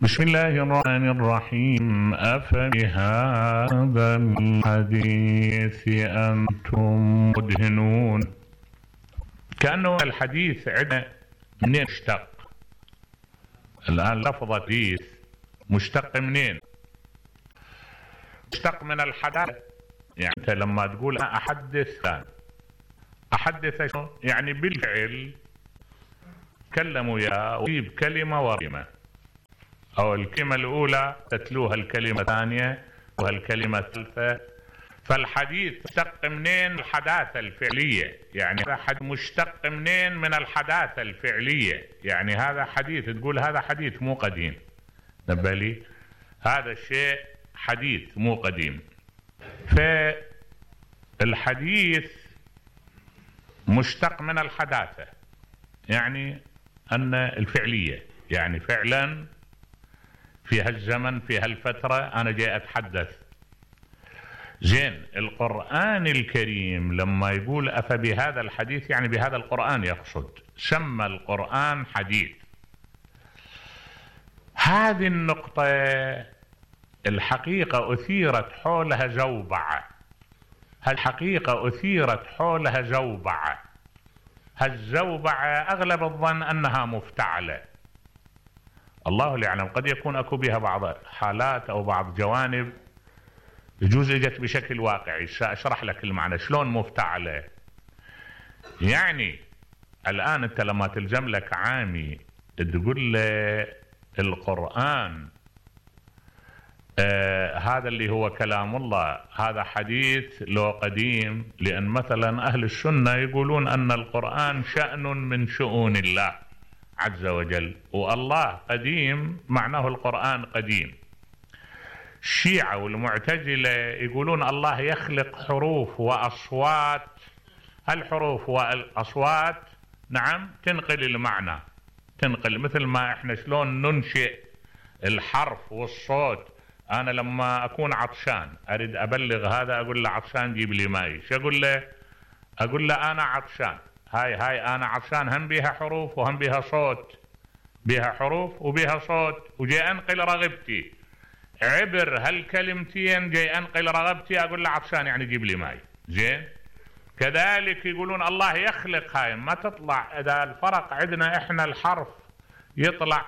بسم الله الرحمن الرحيم. أفبهذا الحديث أنتم مدهنون. كأنه الحديث عندنا منين مشتق؟ الآن لفظ حديث مشتق منين؟ مشتق من الحداثة. يعني أنت لما تقول أنا أحدث شنو؟ يعني بالفعل كلموا يا وجيب كلمة ورمة، أو الكلمة الأولى تتلوها الكلمة الثانية وهالكلمة الثالثة. فالحديث مشتق منين؟ الحداثة الفعلية. يعني هذا مشتق منين؟ من الحداثة الفعلية. يعني هذا حديث، تقول هذا حديث مو قديم. نبه لي هذا الشيء حديث مو قديم. فالحديث مشتق من الحداثة، يعني أن الفعلية، يعني فعلا في هالزمن في هالفترة أنا جاي أتحدث. زين، القرآن الكريم لما يقول أفبهذا الحديث يعني بهذا القرآن يقصد، سمى القرآن حديث. هذه النقطة الحقيقة أثيرت حولها زوبعة. هالحقيقة أثيرت حولها زوبعة. هالزوبعة أغلب الظن أنها مفتعلة، الله لا يعلم. قد يكون أكو بها بعض حالات أو بعض جوانب يجوز اجت بشكل واقعي. سأشرح لك المعنى شلون مفتعلة. يعني الآن أنت لما تلزم لك عامي تقول له القرآن هذا اللي هو كلام الله هذا حديث لو قديم، لأن مثلا أهل السنة يقولون أن القرآن شأن من شؤون الله عز وجل، والله قديم معناه القرآن قديم. الشيعة والمعتزلة يقولون الله يخلق حروف وأصوات، الحروف والأصوات نعم تنقل المعنى، تنقل مثل ما احنا شلون ننشئ الحرف والصوت. أنا لما أكون عطشان أريد أبلغ هذا أقول له عطشان جيب لي ماي، شو أقول له؟ أقول له أنا عطشان. هاي أنا عطشان هم بيها حروف وهم بيها صوت، بيها حروف وبيها صوت، وجاي أنقل رغبتي عبر هالكلمتين، جاي أنقل رغبتي أقول له عطشان يعني جيب لي ماي. زين، كذلك يقولون الله يخلق. هاي ما تطلع إذا الفرق عندنا إحنا الحرف يطلع